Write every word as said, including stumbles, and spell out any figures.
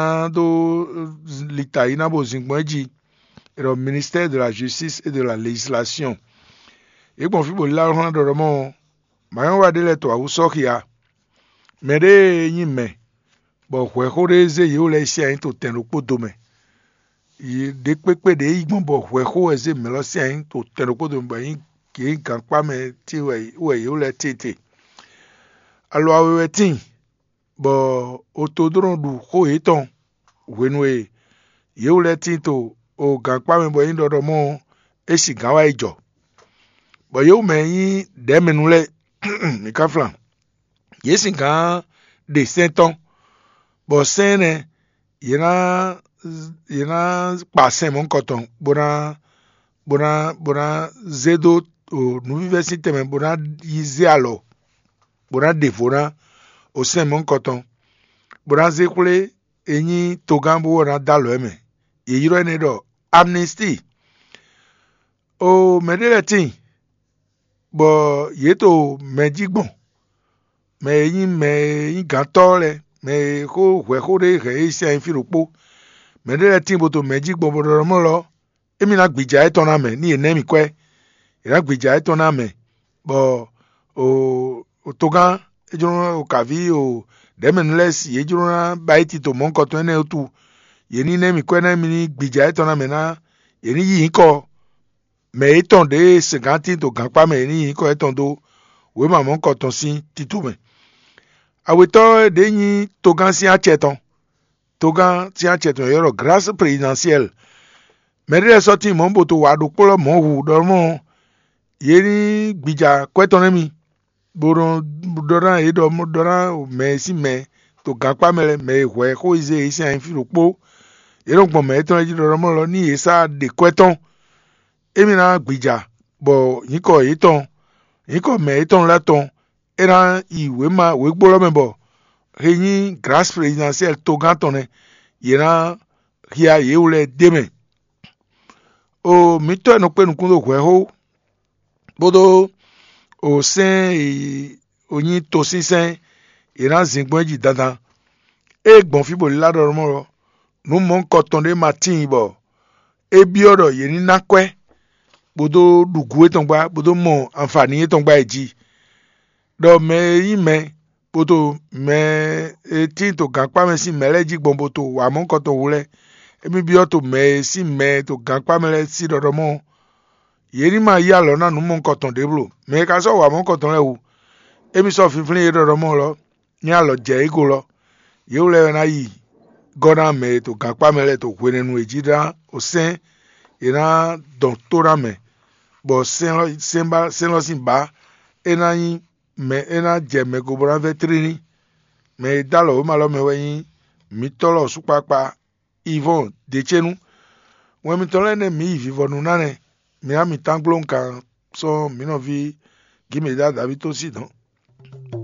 ná dó lita yi ná bo zin gbɔn é jí. È ɖɔ ministère de la justice et de la législation. Yě gbɔn fí bɔ lílá hlɔ́n ɖɔɖɔ mɔ mǎnyɔ́wa ɖé lɛ́ɛ to awǔ sɔ́ xia. Mɛ ɖé e nyí mɛ bɔ hwɛ̌xó ɖé zé yě wú lɛ́ɛ sín anyí to tɛn ɖokpó do mɛ. Ɖě kpékpé ɖě yi gbɔn bɔ hwɛ̌xó wɛ zé mɛ lɔ sín anyí to tɛn ɖokpó do mɛ bɔ yě nyí gankpá mɛ ce wɛ yě wú lɛ́ɛ tete. Alɔ awe wɛ tíin, bɔ otodrɔn ɖu xó yětɔn hwenu e yě wú lɛ́ɛ tíin to o gankpá mɛ bɔ é nyí ɖɔɖɔ mɔ ɔ́, é sin gǎn wá yi jɔ. Bɔ yě wú mɛ e nyí ɖɛ̌mɛnu lɛ́ɛ, mǐ ka flan, yě sin gǎn ɖe sɛ́n tɔn, bɔ sɛ́n énɛ́ yě ná yě ná kpa sɛn mɔ̌hunkɔtɔn bó ná bó ná bó ná zé dó nǔvívɛ́ sín tɛnmɛ bó ná yi zé alɔ bó ná ɖe vo ná o sɛn mɔ̌hunkɔtɔn, bó ná zé xwlé e nyí togán bó wɛ ná dó alɔ ɛ mɛ. Yě ylɔ́ énɛ́ ɖɔ amnistie. O mɛ ɖé lɛ́ɛ tíin, bɔ yě to mɛ jí gbɔn, mɛ e nyí mɛ e nyí gǎntɔ́ lɛ́ɛ, mɛ e xó hwɛ̌xó ɖé hɛn é sín anyí fí ɖokpó. Mɛ ɖé lɛ́ɛ tíin bó to mɛ jí gbɔn bó ɖɔ mɔ lɔ, émí ná gbija étɔn ná mɛ, ní yě ná mì kwɛ́. Yě ná gbija étɔn ná mɛ, bɔ o togán é jló ná o kǎví o ɖɛ̌mɛnu lɛ́ɛ si yě jló ná ba é tito mɔ̌hunkɔtɔn énɛ́ wútu. Yě ní ná mì kwɛ́ ná émí ní gbija étɔn ná mɛ ná yě ní yí nyǐkɔ mɛ yětɔn ɖě e sɛngǎn tín dó gankpá mɛ yě ní nyi nyǐkɔ yětɔn dó wěma mɔ̌hunkɔtɔn sín tito mɛ. Awětɔ́ ɖě nyí togán sín acɛ tɔn. Togán sín acɛ tɔn yě ɖɔ grâce présidentielle. Mɛ ɖé lɛ́ɛ sɔ́ tíin mɔ̌ bó to wa ɖokpó lɔ mɔ̌ hu ɖɔ mɔ yě ní gbija kwɛ́ tɔn nɛ́ mi, bó nɔ ɖɔ ná yě ɖɔ ɖɔ ná mɛ e sín mɛ to gankpá mɛ lɛ́ɛ, mɛ e hwɛ xó e zé yě sín anyí fí ɖokpó. Yě nɔ gbɔn mɛ yětɔn lɛ́ɛ jí ɖɔ ɖɔ mɔ lɔ ní yě sá ɖe kwɛ́ tɔn. Émí ná gbija bɔ nyǐkɔ yětɔn, nyǐkɔ mɛ yětɔn lɛ́ɛ tɔn é ná yi wěma wěgbó lɔ́ mɛ bɔ he nyí grâce présidentielle togán tɔn nɛ́, yě ná hia yě wú lɛ́ɛ d'é mɛ. O mǐtɔ́ e nɔ kpé nukún dó hwɛ̌xó kpódó o sɛ́n e o nyí tosínsɛ́n, yě ná zin gbɔn é jí dandan. Ée gbɔn fí bɔ lílá ɖɔ mɔ ɔ́, nǔ mɔ̌hunkɔtɔn ɖé ma tíin bɔ é byɔ́ ɖɔ yě ní ná kwɛ́ bó dó ɖu gǔ étɔn gbá, bó dó mɔ anfani étɔn gbá é jí. Ɖɔ mɛ e nyí mɛ bó to mɛ e tíin to gankpá mɛ sín mɛ lɛ́ɛ jí gbɔn bó to wǎ mɔ̌hunkɔtɔn hu lɛ́ɛ, émí byɔ́ to mɛ e sín mɛ e to gankpá mɛ lɛ́ɛ sín ɖɔɖɔ mɔ ɔ́, yě ní ma yí alɔ ná nǔ mɔ̌hunkɔtɔn ɖěblo. Mɛ e ka sɔ́ wǎ mɔ̌hunkɔtɔn lɛ́ɛ hu, émí sɔ́ fínflín yě ɖɔɖɔ mɔ lɔ ní alɔ jɛ é go lɔ. Yě wú lɛ́ɛ wɛ ná yi gɔ́ ná mɛ e to gankpá mɛ lɛ́ɛ to hwenɛ́nu e jí ná o sɛ́n yě ná dɔn tó ná mɛ, bɔ sɛ́n lɔ sín bá é ná nyí mɛ é ná jɛ mɛ go bó ná vɛ́ tlíní. Mɛ e dó alɔ wěma lɔ mɛ wɛ nyí mǐtɔ́ lɔ sukpakpa Ivɔ́ɔn Decénu. Wɛn mitɔn lɛ́ɛ nɛ́ mǐ yi vivɔnu ná nɛ́. Mi ná mi tángló nkan sɔ́ mǐ nɔví Gímedá Daví tó sí dɔ̌n.